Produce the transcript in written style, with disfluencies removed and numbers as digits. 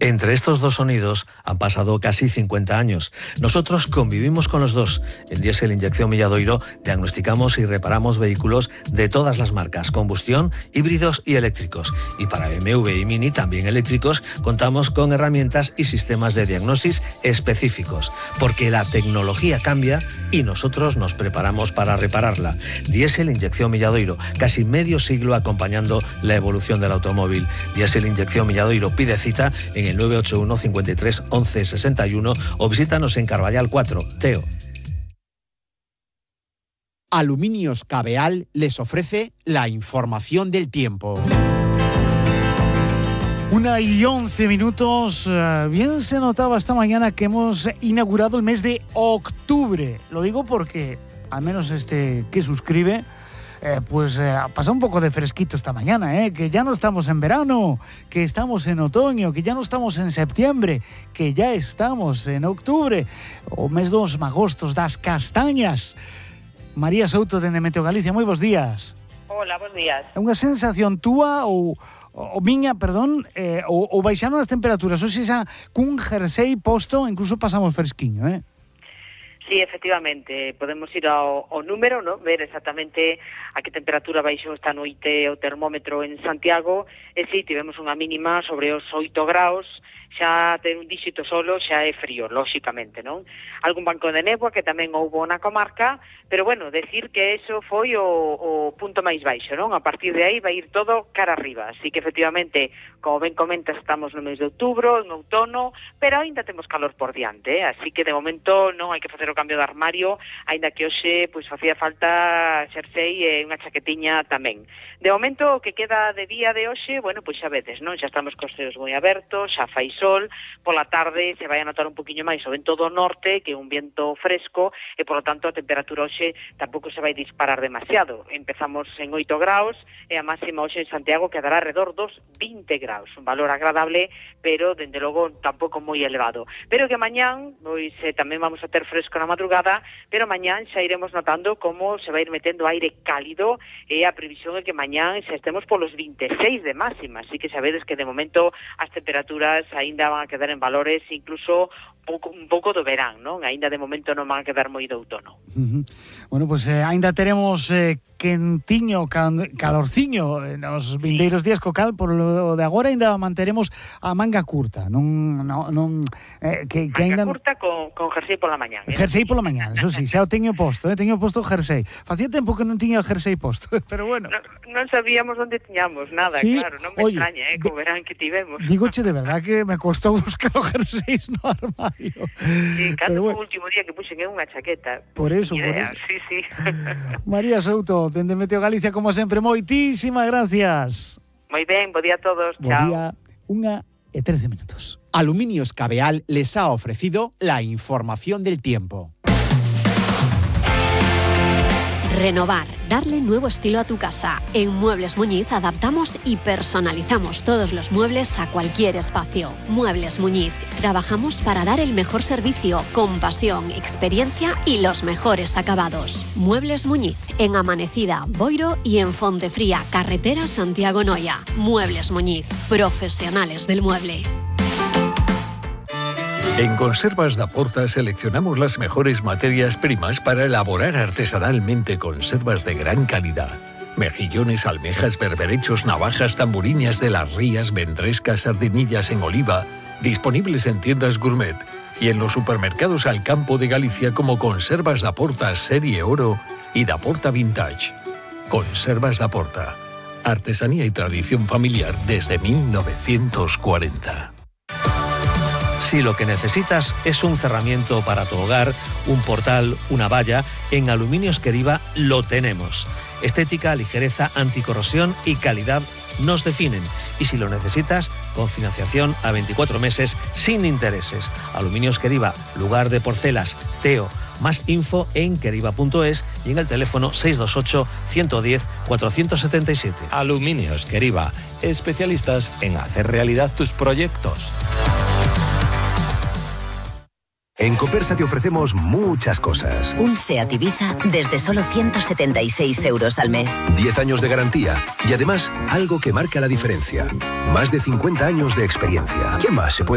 Entre estos dos sonidos han pasado casi 50 años. Nosotros convivimos con los dos. En Diesel Inyección Milladoiro diagnosticamos y reparamos vehículos de todas las marcas, combustión, híbridos y eléctricos. Y para BMW y Mini, también eléctricos, contamos con herramientas y sistemas de diagnosis específicos, porque la tecnología cambia y nosotros nos preparamos para repararla. Diesel Inyección Milladoiro, casi medio siglo acompañando la evolución del automóvil. Diesel Inyección Milladoiro, pide cita en el 981 53 11 61 o visítanos en Carballal 4, Teo. Aluminios Cabeal les ofrece la información del tiempo. 1:11. Bien se notaba esta mañana que hemos inaugurado el mes de octubre. Lo digo porque, al menos que suscribe, ha pasado un poco de fresquito esta mañana, que ya no estamos en verano, que estamos en otoño, que ya no estamos en septiembre, que ya estamos en octubre, o mes dos magostos das castañas. María Souto, dende Meteo Galicia, moi bons días. Hola, bons días. É unha sensación túa ou miña, ou baixaron as temperaturas, ou xa cun jersey posto, incluso pasamos fresquiño, Sí, efectivamente, podemos ir ao número, ¿no? Ver exactamente a que temperatura baixou esta noite o termómetro en Santiago, e si tivemos unha mínima sobre os 8 graus, xa ter un díxito solo xa é frío, lóxicamente, non? Algún banco de néboa que tamén houbo na comarca, pero bueno, decir que eso foi o punto máis baixo, non? A partir de aí vai ir todo cara arriba, así que efectivamente, como ben comentas, estamos no mes de outubro, en outono, pero ainda temos calor por diante, así que de momento non hai que facer o cambio de armario, aínda que hoxe pois facía falta xersei e unha chaquetiña tamén. De momento, o que queda de día de hoxe, bueno, pois xa vedes, non? Xa estamos cos ceos moi abertos, xa fai sol, pola tarde se vai a notar un poquinho máis o vento do norte, que é un viento fresco, e polo tanto a temperatura hoxe tampouco se vai disparar demasiado. Empezamos en 8 graus, e a máxima hoxe en Santiago quedará alrededor dos 20 graus, un valor agradable, pero, dende logo, tampouco moi elevado. Pero que mañán, pois tamén vamos a ter fresco na madrugada, pero mañán xa iremos notando como se vai ir metendo aire cálido, e a previsión é que mañán xa estemos polos 26 de máxima, así que sabedes que de momento as temperaturas aínda van a quedar en valores incluso un pouco do verán, non? Aínda de momento non van a quedar moi do outono. Bueno, pois aínda teremos quentiño, calorciño nos vindeiros días, co cal por lo de agora aínda manteremos a manga curta, manga curta con jersey pola mañán. Jersey pola mañán, eso sí, xa o teño posto, teño posto jersey. Facía tempo que non tiña jersey posto, pero bueno. Non sabíamos onde tiñamos nada, sí, claro, non me extraña, co verán que tivemos. Dígoche de verdad que me costou buscar os jerseys no armario. Sí, cando foi o último día que puxen unha chaqueta. Por eso. Sí. María Souto, dende Meteo Galicia, como sempre, moitísimas gracias. Moi ben, bo día a todos. Bo día, 1:13. Aluminios Cabeal les ha ofrecido la información del tiempo. Renovar, darle nuevo estilo a tu casa. En Muebles Muñiz adaptamos y personalizamos todos los muebles a cualquier espacio. Muebles Muñiz, trabajamos para dar el mejor servicio, con pasión, experiencia y los mejores acabados. Muebles Muñiz, en Amanecida, Boiro y en Fontefría, carretera Santiago-Noia. Muebles Muñiz, profesionales del mueble. En Conservas da Porta seleccionamos las mejores materias primas para elaborar artesanalmente conservas de gran calidad. Mejillones, almejas, berberechos, navajas, tamburiñas de las rías, ventrescas, sardinillas en oliva, disponibles en tiendas gourmet y en los supermercados al campo de Galicia como Conservas da Porta Serie Oro y da Porta Vintage. Conservas da Porta. Artesanía y tradición familiar desde 1940. Si lo que necesitas es un cerramiento para tu hogar, un portal, una valla, en Aluminios Queriva lo tenemos. Estética, ligereza, anticorrosión y calidad nos definen. Y si lo necesitas, con financiación a 24 meses sin intereses. Aluminios Queriva, lugar de porcelas, Teo. Más info en queriva.es y en el teléfono 628 110 477. Aluminios Queriva, especialistas en hacer realidad tus proyectos. En Copersa te ofrecemos muchas cosas. Un SEAT Ibiza desde solo 176 euros al mes. 10 años de garantía y además algo que marca la diferencia. Más de 50 años de experiencia. ¿Qué más se puede